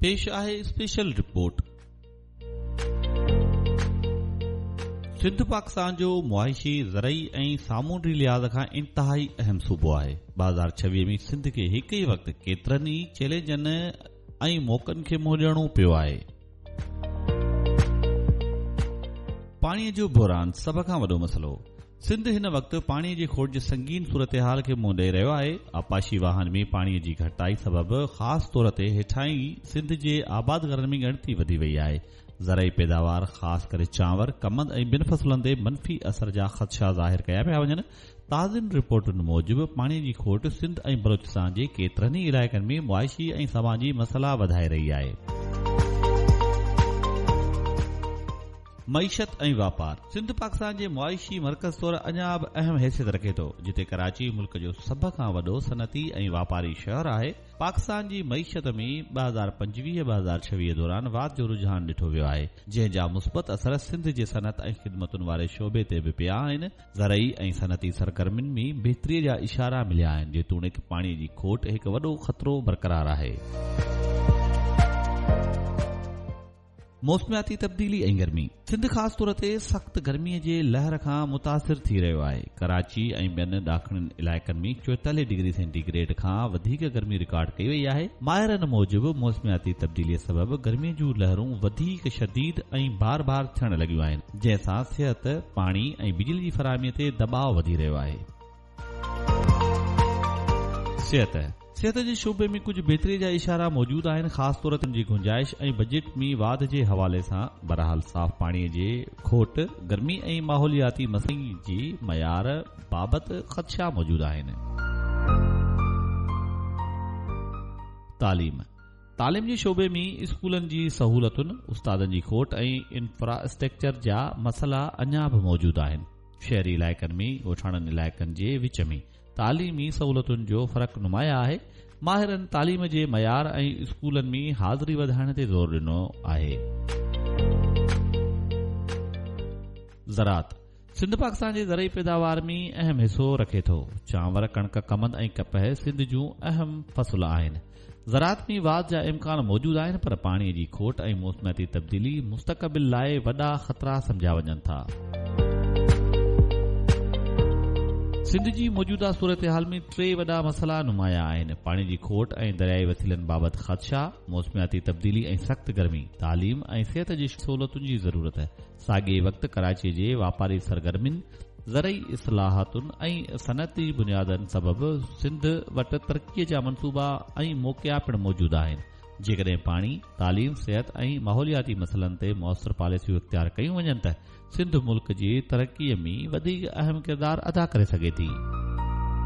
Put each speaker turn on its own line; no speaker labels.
پيش آهي special report. Sindh Pakistan جو معاشي، زرعي ۽ سامونڊي لحاظ کان انتهائي اهم صوبو آهي. 2026 ۾ سنڌ کي هڪ ئي وقت ڪيترن ئي چئلينجن ۽ موقعن کي منهن ڏيڻو پيو آهي. پاڻي جو بحران سڀ کان وڏو مسئلو. سنڌ هن وقت پاڻي جي کوٽ جي سنگين صورتحال کي منهن ڏئي رهيو آهي. آبپاشي واهن ۾ پاڻي جي گهٽتائي سبب خاص طور تي هيٺاهين سنڌ جي آبادگارن ۾ ڳڻتي وڌي وئي آهي. زرعي پيداوار خاص ڪري چانور، ڪمند ۽ ٻين فصلن تي منفي اثر جا خدشا ظاهر ڪيا پيا وڃن. تازين رپورٽن موجب پاڻي جي کوٽ سنڌ ۽ بلوچستان جي ڪيترن ئي علائقن ۾ معاشي ۽ سماجي مسئلا وڌائي رهي آهي. معيشت ۽ واپار، سنڌ پاڪستان جي معاشي مرڪز طور اڃا به اهم حيثيت رکي ٿو، جتي ڪراچي ملڪ جو سڀ کان وڏو صنعتي ۽ واپاري شهر آهي. پاڪستان جي معيشت ۾ 2025 2026 دوران واڌ جو رجحان ڏٺو ويو آهي، جنهن جا مثبت اثر سنڌ جي صنعت ۽ خدمتن واري شعبي تي به پيا آهن. زرعي ۽ صنعتي سرگرمين ۾ بهتري جا اشارا مليا آهن، جيتوڻيڪ پاڻي جي کوٽ هڪ وڏو خطرو برقرار آهي. موسمياتي تبديلي ۽ گرمي، سنڌ خاص طور تي سخت گرمي جي لهر کان متاثر ٿي رهيو آهي. ڪراچي ۽ ٻين ڏاکڻين علائقن ۾ 44 ڊگري سينٽي گريڊ کان وڌيڪ گرمي رڪارڊ ڪئي وئي آهي. ماهرن موجب موسمياتي تبديلي سبب گرمي جون لهرون وڌيڪ شديد ۽ بار بار ٿيڻ لڳيون آهن، جنهن سان صحت، پاڻي ۽ بجلي جي فراهمي تي دٻاء وڌي رهيو آهي. صحت، صحت جي شعبي ۾ ڪجهه بهتري جا اشارا موجود آهن، خاص طور تي ان جي گنجائش ۽ بجيٽ ۾ واڌ جي حوالي سان. بهرحال صاف پاڻي جي کوٽ، گرمي ۽ ماحولياتي مسئلن جي معيار بابت خدشا موجود آهن. تعليم، تعليم جي شعبي ۾ اسڪولن جي سهولتن، استادن جي کوٽ ۽ انفراسٽرڪچر جا مسئلا اڃا به موجود آهن. شهري علائقن ۾ ڳوٺاڻن علائقن جي وچ ۾ تعليمي سهولتن جو فرق نمايان آهي. ماهرن تعليم جي معيار ۽ اسڪولن ۾ حاضري وڌائڻ تي زور ڏنو آهي. زراعت، سنڌ پاڪستان جي زرعي پيداوار ۾ اهم حصو رکي ٿو. چانور، ڪڻڪ، ڪمند ۽ ڪپهه سنڌ جون اهم فصل آهن. زراعت ۾ واڌ جا امڪان موجود آهن پر پاڻي جي کوٽ ۽ موسمياتي تبديلي مستقبل لاء وڏا خطرا سمجهيا وڃن ٿا. سنڌ جي موجوده صورتحال ۾ ٽي وڏا مسئلا نمايان آهن، پاڻي جي کوٽ ۽ دريائي وسيلن بابت خدشا، موسمياتي تبديلي ۽ سخت گرمي، تعليم ۽ صحت جي سهولتن جي ضرورت. ساڳئي وقت ڪراچي جي واپاري سرگرمين، زرعي اصلاحاتن ۽ صنعتي بنيادن سبب سنڌ وٽ ترقي جا منصوبا ۽ موقعا پڻ موجود آهن. جيڪڏهن پاڻي، تعليم، صحت ۽ ماحولياتي مسئلن تي موثر پاليسيون اختيار ڪيون وڃن ته سنڌ ملڪ جي ترقي ۾ وڌيڪ اهم ڪردار ادا ڪري سگهي ٿي.